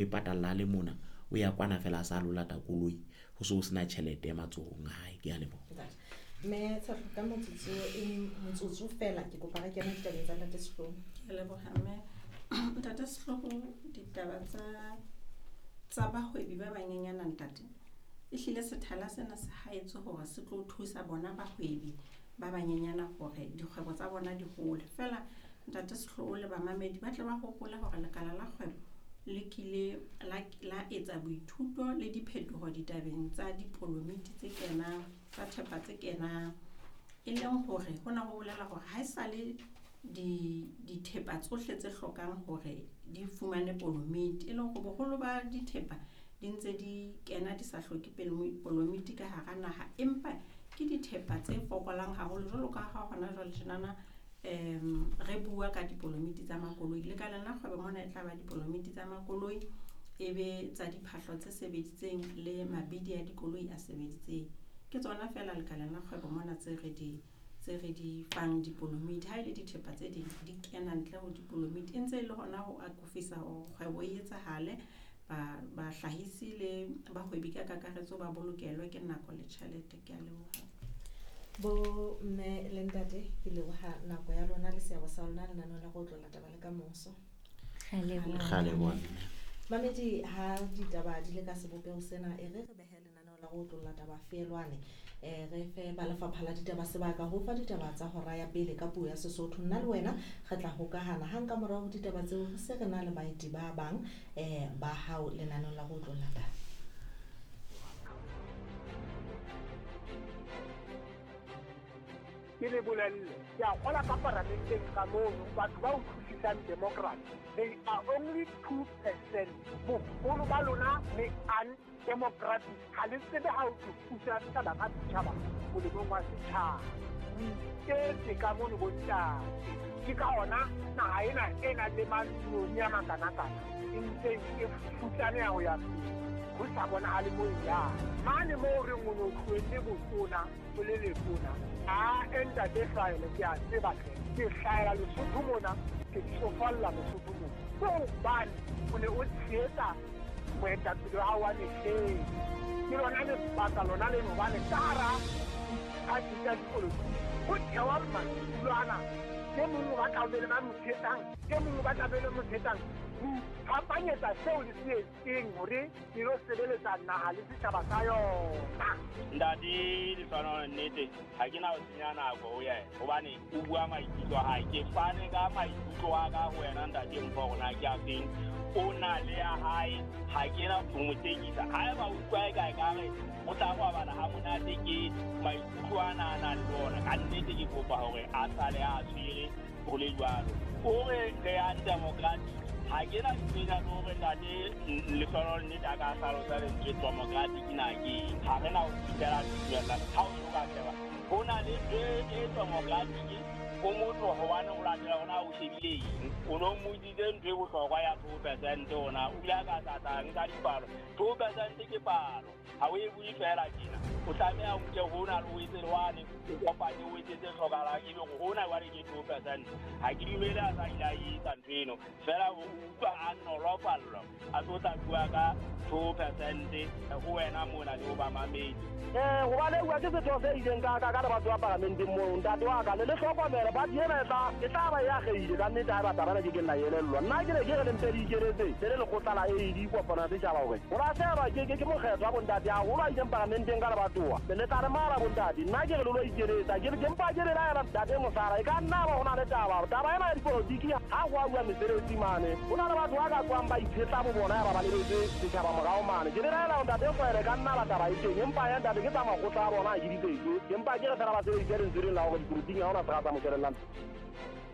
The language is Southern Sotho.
E patalla le mona o ya kwana fela a sa lo lata koloi ho so sena tjhelete matsohong a hae. Ke a leboha. Mme Tshehlo, ka motsotso e motsotso fela ke kopa re kene ditabeng tsa Ntate Sehloho. Ke a leboha mme. Ntate Sehloho, ditaba tsa bahwebi ba banyenyana ntate, ehlile sethala sena se haetswe hore se tlo thusa bona bahwebi ba banyenyana hore dikgwebo tsa bona di hole. Feela Ntate Sehloho le bamamedi ba tle ba hopole hore lekala la kgwebo le kile la etsa boithuto le diphetoho ditabeng tsa dipolomiti tse kenang, tsa thepa tse kenang, e leng hore hona ho bolela hore ha esale dithepa tsohle tse hlokang hore di fumane polomiti, e leng hore boholo ba dithepa di ntse di kena di sa hloke polomiti ka hara naha, empa ke dithepa tse fokolang haholo jwalo ka ha hona jwale tjenana re bua ka dipolomiti tsa makoloi. Lekaleng la kgwebo mona e tla ba dipolomiti tsa makoloi, e be tsa diphahlo tse sebeditseng le mabidi a dikoloi a sebeditseng. Ke tsona feela lekaleng la kgwebo mona tse re di fang dipolomiti. Ha e le dithepa tse ding di kena ntle ho dipolomiti, e ntse e le hona ho akofisa hore kgwebo e etsahale, bahlahisi le bahwebi ka kakaretso ba bolokelwe ke nako le tjhelete. Ke a leboha. Bo mme le ntate, ke leboha nako ya lona le seabo sa lona lenaneong la go otlolla taba le ka moso. Re a leboha mme. Mamedi, ha ditaba di le ka sebopeho sena, e re re behe lenaneo la go otlolla taba feelwane, re fe ba lefapha la ditaba sebaka ho fa ditaba tsa hora ya pele ka puo ya Sesotho. Nna le wena re tla hokahana hang ka morao ho ditaba tseo, re se re na le baeti ba bang ba hao lenaneong la go otlolla taba. Ke le bolelle, ke a kgola ka paramenteng ka mono, batho ba utlwisisang democracy, they are only 2%. Boholo ba lona le undemocratic, ha le tsebe ha o tlo pusa setjhaba ka setjhaba molemong wa setjhaba. O iketse ka mono bontate. Ke ka hona naha ena e nang le maloni a makanakana e ntse e futsaneha ho ya pele, ho sa bonahale moo e yang. Mane moo re o no tlohelle botona o le letona, a ntate Hlwaele, ke a tseba hle, ke hlahela Lesotho mona, ke tsofalla Lesotho mona. Ke hobane o ne o tshehetsa moetapele wa hao wa mehleng. Ke lona lebaka lona leno, hobane ka hara diphathi tsa dipolotiki ho thewa madulo ana. E mong o batla ho be le ba mo tshehetsang, e mong o batla be le mo tshehetsang. Ho iphapanyetsa seo le se etseng hore le lo sebeletsa naha le setjhaba sa yona. Ntate Lehlohonolo, nnete ha ke na ho senya nako ho yena, hobane o bua maikutlo a hae. Ke fane ka maikutlo a ka ho wena ntate Mpho, hore na ke a feng. O na le ya hae, ha ke na ho mo tekisa. Haeba o utlwa e kae ka re o tla robala ha monate, ke maikutlo ana a nang le ona. Ka nnete ke kopa hore a sale a tshwere ho le jwalo. O re re undemocratic, ha ke na tsena le hore ntate Lehlohonolo nnete a ka hlalosa lentswe democratic na ke eng. Ha re na ho fihlela tumellano. Ha o so ka sheba, ho na le ntho e democratic o motho hobane o latela hore na o shebile eng. O no mmotsitse ntho e bohlokwa ya 2% hona, o ile a ka tlatla nka dipalo. 2% ke palo, ha o e bue fela tjena. O tlameha o nke hona le o etse le wane, o kopanye o etse tse hlokahalang, ebe hore hona jwale ke 2%. Ha ke dumele a sa ile a etsa ntho eno, feela o utlwa a nolofallwa a tlo tla bua ka 2% ho wena mona le ho bamamedi. Hobane bua ke setho se ileng ka ka le batho ba paramenteng moo, ntate wa ka le le hlokomele party ena e tla ba e akgehile ka nnete ha e batla bana ke ke nna elellwa. Nna ke ne ke re le mpe le ikeletse le le lekgotla la AD kopano ya setjhaba hore ho lahlehelwa ke mokgetho wa bontate haholo a ileng paramenteng ka lebatowa. Le tla re mara bontate, nna ke re le lo ikeletsa, ke mpa ke le laela ntate Mosala, e ka nna ba ho na le taba. Taba ena ya dipolotiki ha ho a bua mesebetsi mane, ho na le batho ba ka tswang ba itshetla bo bona ya ba ba lebetse setjhaba morao mane. Ke le laela ntate Hlwaele, ka nna ba taba e teng, empa ya ntate ke tsa makgotla a bona ha ke di tsetse. Empa ke re fela ba sebedise lentswe lena la hore dipolotiking ha hona sera sa mo shebellang.